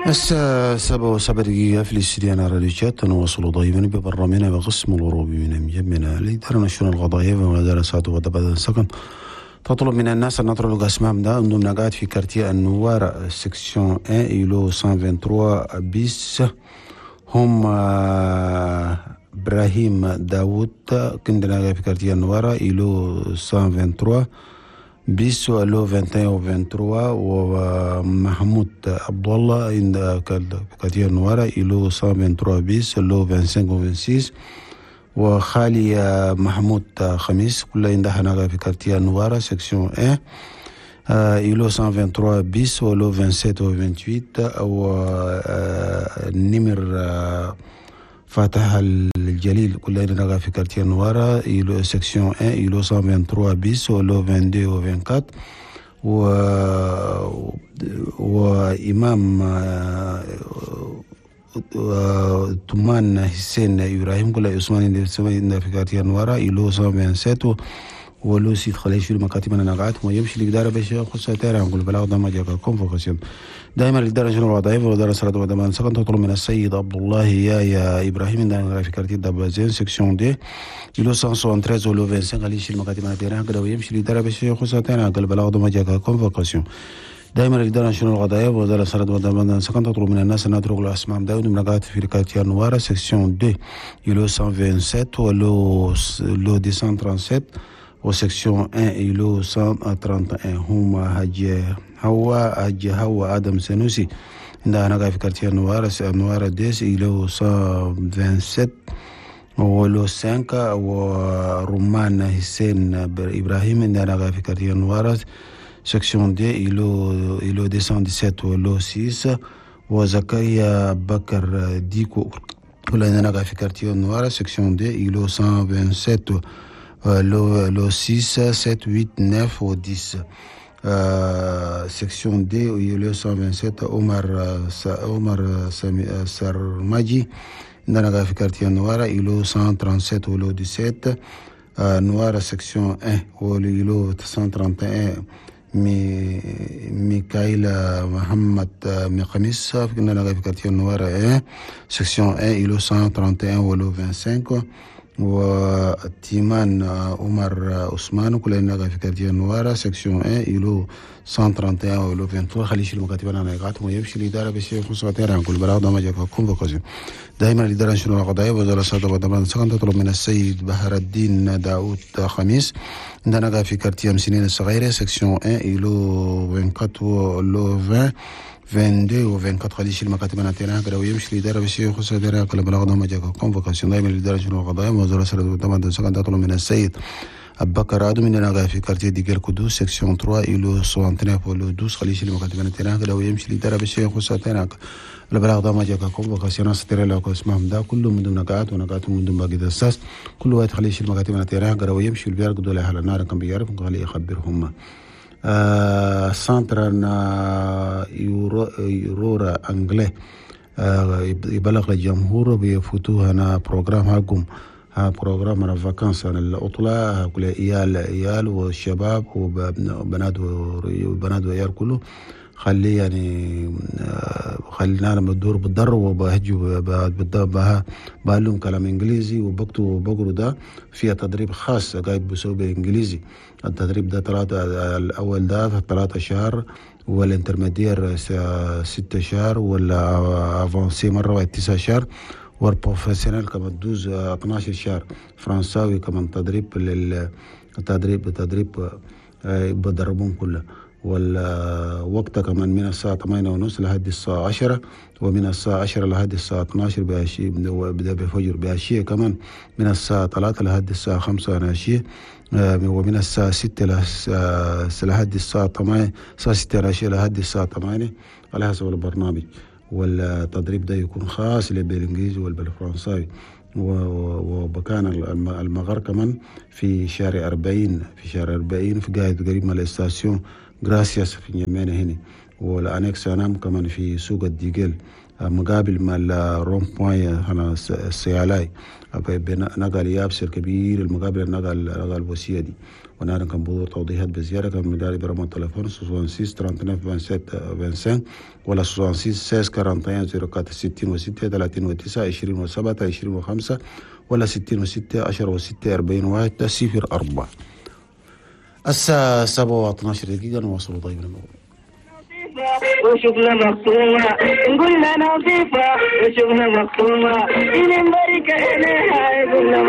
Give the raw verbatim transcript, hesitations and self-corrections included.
الساعة سبعة وسبع دقيقة في الاستديو راديو تشاد. نواصل دائما ببرنامجنا بقسم الأوروبي من مجمنا الإدارة الشؤون القضائية ومدار ساعة وبعد سكن. تطلب من الناس أن نطلب الأسماء ده عندهم قاعد في quartier النوار section واحد îlot مية وثلاثة وعشرين bis. هم إبراهيم داوود كندنا في quartier النوارة îlot مية وثلاثة وعشرين bis و lot واحد وعشرين و ثلاثة وعشرين، ومحمود عبد الله عند quartier النوارة îlot مية وثلاثة وعشرين bis lot خمسة وعشرين و ستة وعشرين، وخالي محمود خميس كلها عندها هناك في quartier النوارة section واحد îlot مية وثلاثة وعشرين bis و lot سبعة وعشرين و ثمانية وعشرين، و النمر فاتح الجليل كلها عندنا في quartier النوارة îlot section واحد îlot مية وثلاثة وعشرين bis و lot اثنين وعشرين و أربعة وعشرين، و وإمام تمان حسين إبراهيم كل عثمان في quartier النوارة îlot مية وسبعة وعشرين و lot ستة. خليه يشيل مكاتب انا قاعد ويمشي الإدارة باش يخص تيرا نقول بلاغ ده ما جاك convocation. دائما الإدارة شنو الوظائف والإدارة صلاة ودمان سكن. تطلب من السيد عبد الله يا يا إبراهيم عندنا في quartier دبازين section deux îlot مية وتلاتة وستين و lot خمسة وعشرين. خليه يشيل مكاتب انا تيرا كده ويمشي الإدارة باش يخص تيرا قال بلاغ ده ما جاك convocation. دائما الإدارة شنو القضايا وزارة صلاة ودمان سكن تطلب من الناس أن يتركوا الأسماء داود من في quartier نوارة section deux îlot مية وسبعة وعشرين و lot lot مئتين وسبعة وثلاثين و section واحد îlot مية وواحد وثلاثين. هما هج هوا هج هوا آدم سنوسي عندها هناك في quartier نوارة نوارة deux îlot مية وسبعة وعشرين و lot خمسة، ورمان حسين إبراهيم عندنا في quartier نوارة section deux îlot îlot مئتين وسبعة عشر و lot ستة، وزكريا بكر ديكو كلنا في quartier نوارة section deux îlot مية وسبعة وعشرين lot lot ستة، سبعة، ثمانية، تسعة و عشرة. section deux îlot مية وسبعة وعشرين عمر عمر سرماجي عندنا في quartier نوارة îlot مية وسبعة وثلاثين و lot سبعة عشر. نوارة section واحد و îlot مية وواحد وثلاثين مي ميكايل محمد ميخاميس عندنا في quartier نوارة واحد section واحد îlot مية وواحد وثلاثين و lot خمسة وعشرين، وتيمان عمر عثمان كلنا في quartier نوارة section واحد îlot مية وواحد وثلاثين و lot ثلاثة وعشرين. خلي يشيل مكاتب انا نقاط ويمشي الإدارة بس يخص نقول بلاغ ده ما جاك convocation. دائما الإدارة شنو القضايا وزارة الصحة والضمان سكن تطلب من السيد بحر الدين داوود خميس عندنا في quartier سنين الصغيرة section واحد îlot أربعة وعشرين lot عشرين، اثنين وعشرين و أربعة وعشرين. خلي يشيل مكاتب انا كده ويمشي الإدارة بس يخص كل بلاغ ده ما جاك convocation. دائما الإدارة شنو القضايا وزارة الصحة والضمان سكن تطلب من السيد أبكر آدم عندنا في quartier ديجر كودو section ثلاثة îlot تسعة وتسعين و lot اثنا عشر. خلي يشيل مكاتب انا كده ويمشي الإدارة بس يخص البلاغ ده ما جاك convocation. ستري لو اسمهم ده كله من ضمن نقاط ونقاط من ضمن باقي الأساس كل واحد خلي يشيل مكاتب انا كده ويمشي البيار قدوا على النار كان بيعرف خلي يخبرهم. آه centre يورو يورورا anglais آه يبلغ للجمهور بيفوتوه هنا programme حقهم ها programme انا vacances انا العطلة كل عيال عيال والشباب وبنات وبنات وعيال كله خليه يعني خلينا لما تدور بالضر وبهجوا بعلم كلام انجليزي وبكتبوا وبقروا. ده فيها تدريب خاص قاعد بسوي بالانجليزي. التدريب ده ثلاثة، الاول ده ثلاثة شهر، وال intermédiaire ستة شهر، ولا avancé مرة واحد تسعة شهر، وال professionnel كمان douze اثنا عشر شهر. فرنساوي كمان تدريب للتدريب تدريب بدربون كله. والوقت كمان من الساعة ثمانية ونص لحد الساعة عشرة، ومن الساعة عشرة لحد الساعة اثنا عشر بعشية بدأ بفجر بعشية، كمان من الساعة ثلاثة لحد الساعة خمسة عشية، ومن الساعة ستة لحد الساعة ثمانية، الساعة ستة عشية لحد الساعة ثمانية على حسب البرنامج. والتدريب ده يكون خاص بالإنجليزي والبالفرنساوي. وبكان المغر كمان في شارع أربعين، في شارع أربعين في قاعد قريب من ال station Gracias في نجمينا هنا، وال annexe انام كمان في سوق الديجل. مقابل مع ال rond-point هنا السيالاي نقل يابس الكبير المقابل النقل نقل الوسية دي. ونحن كان بدور توضيحات بزيادة كان مداري برقم التليفون ستة وستين تسعة وثلاثين سبعة وعشرين خمسة وعشرين ولا ستة وستين ستة عشر واحد وأربعين صفر أربعة ستة وستين ثلاثة وتسعة عشرين وسبعة عشرين وخمسة ولا ستة وستين عشرة وستة أربعين واحد صفر أربعة. الساعة سبعة واثنا عشر دقيقة، نواصل طيب الموضوع. وشغلة مقسومة، قلنا نظيفة وشغلة مقسومة، إلى بركة.